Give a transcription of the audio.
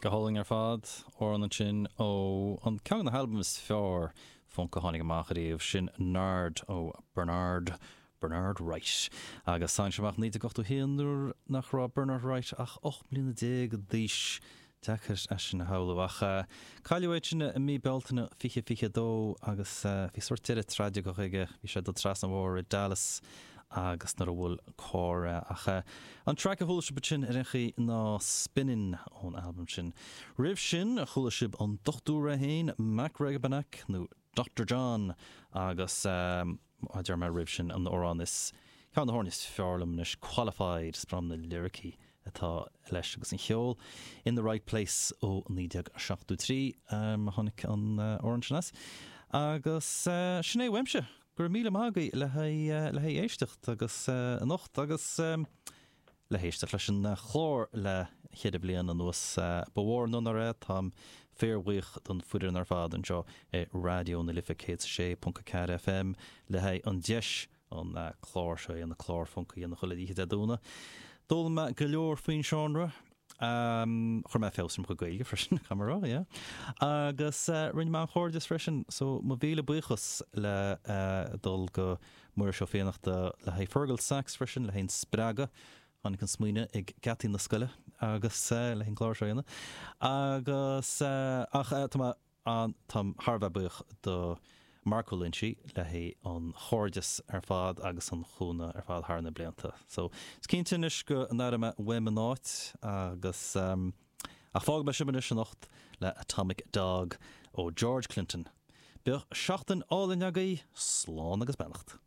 Go hálainn ar fad. Amhrán ansin ó an ceann de na halbaim is fearr func a tháinig amach ariamh, sin Nard ó Bernard Bernard Wright. Agus tháinig sé amach i 1981 nuair nach raibh Bernard Wright ach 18 mbliana d'aois. Deacair é sin a shamhlú ach cailleadh é ansin i mí Bealtaine 2022 agus bhí sórt deireadh traigiceach aige, bhí sé ag dul trasna an bhóthair i Dallas agus nuair a bhuail carr é. Ach an traic a chuala sibh ansin ar aon chaoi ná Spinnin' ón albam sin. Roimh sin chuala sibh an Dochtúir é féin, Mac Rebennack nó Doctor John agus a deir mé roimh sin, an amhrán is, ceann de na hamhráin is fearr liom anois, Qualified, is breá liom na liricí atá leis agus an cheol, In the Right Place ó 1973 a tháinig an amhrán sin as. Agus sin é uaimse, go raibh míle maith agaibh le haghaidh, le haghaidh éisteacht agus anocht agus. le héisteacht leis an chlár le cheithre bliana anuas. Ba mhór an onóir é, táim fíorbhuíoch don foireann ar fad anseo i Raidió na Life 106.4 FM le haghaidh an deis an clár seo a dhéanamh, clár func a dhéanamh chuile oíche Dé Domhnaigh. D'fhoghlaim mé go leor faoin seánra. Chuir mé feabhas ar mo chuid Gaeilge freisin, caithfidh mé a rá, yeah. Agus rinne mé an-chairdeas freisin, so mo mhíle buíochas le dul go Muiris Ó Fiannachta le haghaidh Fergal Sachs freisin, le haghaidh an spreagadh. Tháinig an smaoineamh ag geataí na scoile agus le haghaidh an clár seo a dhéanamh. Agus ach tá mé an, táim thar a bheith buíoch do Mark Ó Loinsigh le haghaidh an chairdeas ar fad agus an chúnamh ar fad thar na blianta. So, is cinnte anois go n-aireoidh mé uaim an áit agus ach fágfaidh mé sibh anois anocht le Atomic Dog ó George Clinton. Bíodh seachtain álainn agaibh, slán agus beannacht.